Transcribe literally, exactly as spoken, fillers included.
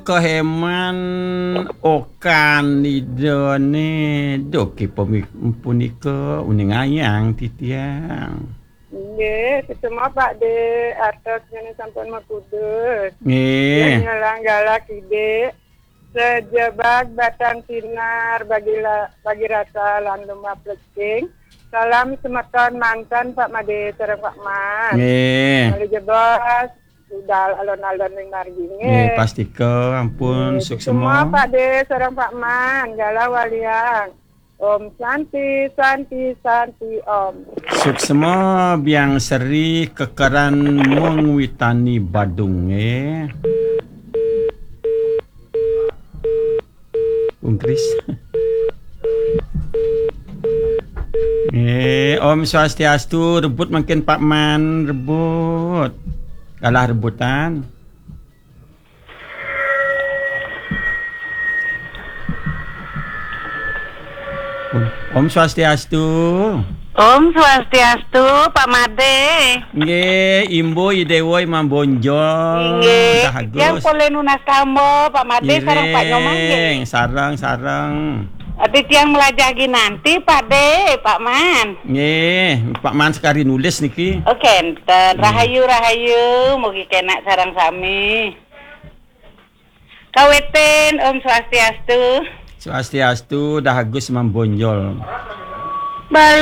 Kaheman okan idane doke pemi-, punika uning ayang titiang. Nggih, semua Pak De, atos jene sampun makudus. Nggih. Yang nyelang galak ide, sejebag batang sinar bagi la-, bagi rasa lan lumah plecing. Salam semeton mantan Pak Made sareng Pak Man. Nggih. Malih jebos, budal alon-alon ring margi, nggih, nggih. Pastika ampun. Nggih, suksema. Semua Pak De sareng Pak Man, galah waliang. Om Santi, Santi, Santi, Om. Suksema Biang Seri Kekeran Mengwitani Badung, nggih. Ungkris. Eh, Om Swastiastu, rebut mangkin Pak Man, rebut. Kalah rebutan. Om Swastiastu. Om Swastiastu, Pak Made. Nggih, Imbo Idewa Imam Bonjol. Nggih, Dah Agus. Tiang polih nunas tamba, Pak Made sareng Pak Nyomang, nggih. Iring, sareng, sareng. Ati tiang melajah ginanti, Pak De, Pak Man. Nggih, Pak Man sekali nulis niki. Oke, enten. Nggih. Rahayu, rahayu, mugi kenak sareng sami. Kawitin, Om Swastiastu. Swastiastu, Dah Agus Imam Bonjol. Bal-